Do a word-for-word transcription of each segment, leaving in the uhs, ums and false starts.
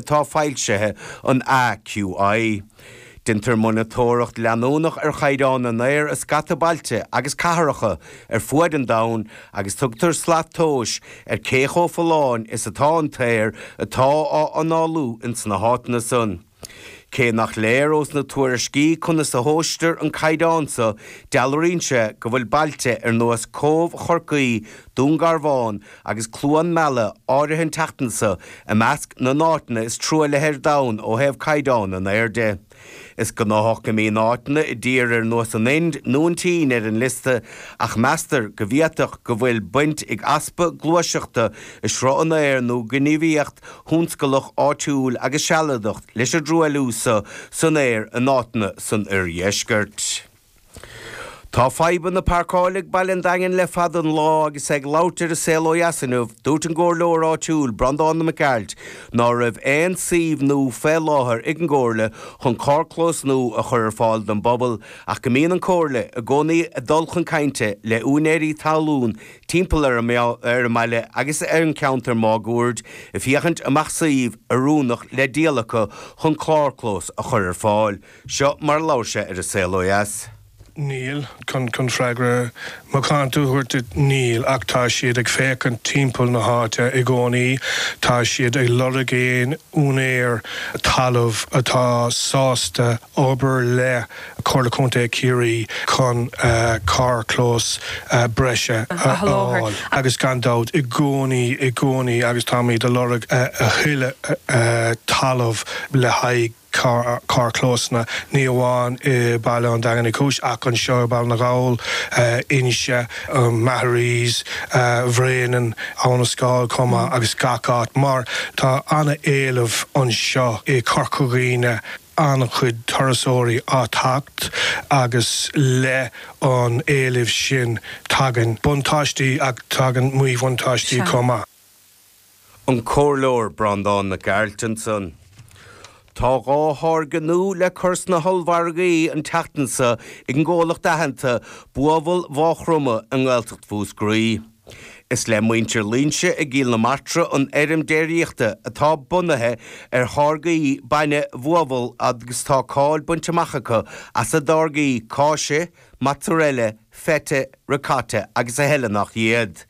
atá foilsithe an AQI. Déantar monatóireacht leanúnach ar chaighdeán an aeir i scata bailte agus cathracha ar fuaid an domhain agus tugtar slat tomhais ar cé chomh folláin is atá an t-aer atá á análú ins na háiteanna san. Cé nach léir ós na tuairiscí conas a thomhaistear an caighdeán seo dealraíonn sé go bhfuil bailte ar nós Cóbh Chorcaí, Dún Garbhán agus Cluain Meala áirithe an tseachtain seo i measc na n-áiteanna is truaillithe ar domhan ó thaobh caighdeán an aeir de. Is gnách go mbíonn áiteanna i dtír ar nós an Ind nó an tSín ar an liosta ach meastar go bhféadfadh go bhfuil baint ag easpa gluaiseachta i sruth an aeir nó gníomhaíocht thionsclach áitiúil agus sealadach leis an dtruailliú seo san aer in áiteanna san oirdheisceart. Tá fadhbanna páirceála ag Baile an Daingin le fada an lá agus ag labhairt ar An Saol Ó Dheas inniu, dúirt an comhairleoir áitiúil Breandán Mac Gearailt ná raibh aon suíomh nua fé láthair ag an gcomhairle chun carrchlós nua a chur ar fáil don bpobal ach go mbíonn an chomhairle i gcónaí ag dul chun cainte le úinéirí talún timpeall ar an ar an mbaile agus ar an ceantar máguaird ag féachaint an mbeadh suíomh oiriúnach le díol acu chun carrchlós a chur ar fáil. Seo mar labhair sé ar An Saol Ó Dheas. Níl chun chun freagra macánta a thabhairt níl ach tá siad ag féachaint timpeall na háite i gcónaí, tá siad ag lorg aon úinéir talamh atá sásta obair le Comhairle Contae Chiarraí chun uh, carrchlós uh, breise a fháil agus gan dabht i gcónaí i gcónaí agus táimid ag lorg uh, a thuilleadh uh, talamh le haghaidh carrchlósanna ní amháin i Baile an Daingin Cúis ach anseo Baile na nGall Inse Maharees Bhréanainn Abhainn an Scáil chomh agus gach áit mar tá an-éileamh anseo i Corca Dhuibhne an-chuid turasóirí ag teacht agus le an éileamh sin tagann buntáistí ach tagann míbhuntáistí chomh maith. An comhairleoir Breandán Mac Gearailt ansan. Tá dhá tháirge nua le cur sna hollmhargaí an tseachtain seo ag an gcomhlacht aitheanta Buabhall Mhaigh Chromtha i nGaeltacht Mhúscraí. Is le muintir Loingsigh i gCill na Martra an fheirm déiríochta atá bunaithe ar tháirgí bainne Bhuabhall agus tá cáil bainte amach acu as a dtáirgí cáise, mozzarella, feta, ricotta agus a thuilleadh nach iad.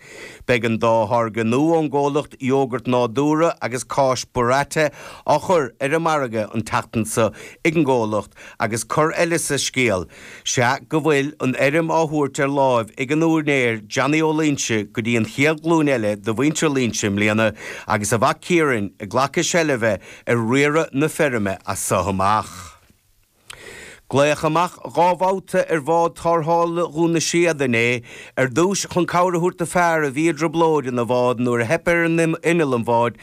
Beidh an dá tháirge nua ón gcomhlacht iógart nádúrtha agus cáis burrata á chur ar an margadh an tseachtain seo ag an gcomhlacht agus cor eile sa scéal, sé go bhfuil an fheirm á thabhairt ar láimh ag an úinéir Johnny Ó Loingsigh go dtí an chéad ghlúin eile de mhuintir Loingsigh i mbliana agus a mhac Ciarán ag glacadh seilbhe ar riaradh na feirme as seo amach. Glaodh amach dhá bhabhta ar bhád tarrthála Dhún na Séad inné ar dtús chun cabhair a thabhairt do fhear a bhí i dtrioblóid ina bhád nuair a theip ar an inneall an bháid